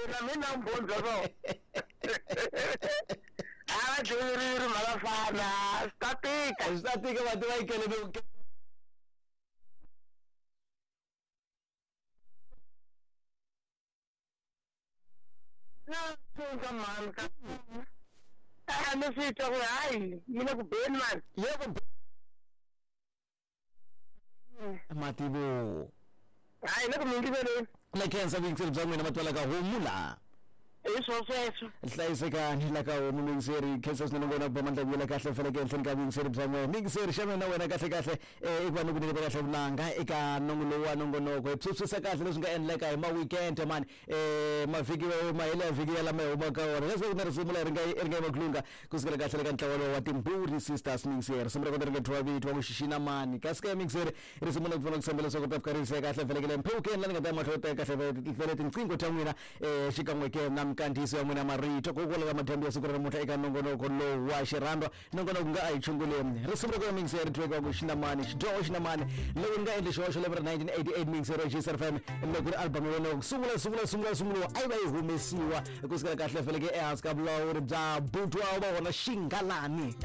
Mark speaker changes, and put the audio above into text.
Speaker 1: Na mina vumbhoni bya swona. A va dyiwile mhaka swi ta tika.
Speaker 2: Swi ta tika va tiva yi kele.
Speaker 1: Na tsundza mhani ka a ni swi twa ku hayi yi le ku beni mani.
Speaker 2: Yebo, mativo.
Speaker 1: Hayi, le ku mingiseleni.
Speaker 2: Na khensa vuyingiseri bya n'wina matwala ka homu laha.
Speaker 1: Hi swo sweswo.
Speaker 2: Hlayisekani la ka homu muyingiseri, khensa swinene ngona ku ba mandla vuyela kahle faneke ehenhleni ka vuyingiseri bya n'wina muyingiseri. Xana na wena kahle kahle i ku va ni ku nyiketa kahle vunanga eka nongo lowu wa nongonoko, hi phyuphyisa kahle leswi nga endleka hi ma-weekend mani, mavhiki mahele ya vhiki ya lama hi humaka ka wona. Leswaku na risimu leri nga ri nga makulunga kusukela kahle le ka ntlawa lowu wa Timburi Sisters mixer, risimu ra kona ri nga thyiwa vito wa ku xixina mani. Kasi ka mixer risimu la ku pfuna ku tshemba leswaku ta fika ri yiseka kahle velekele mphewukeni la ni nga ta ya mahlweni teka kahle vele tinqingho ta n'wina xikan'we ke na minkandziyiso ya n'wina marito kokwala ka madyambu ya siku ra namuntlha eka nongonoko lowu wa xirhandwa, nongonoko nga a hi chunguleni. Risimu ra kona mixer ri thyiweke wa ku xinamani, xidyoho xinamani, loko ni nga endli xihoxo lembe ra 1988 mixer wa Gcr FM, loko ri album ya wena ku sungula sungula sungula sunguriwa a yi va yi humesiwa kusukela kahle feleke ehansi ka vulawuri bya butwa va vona Xingalani.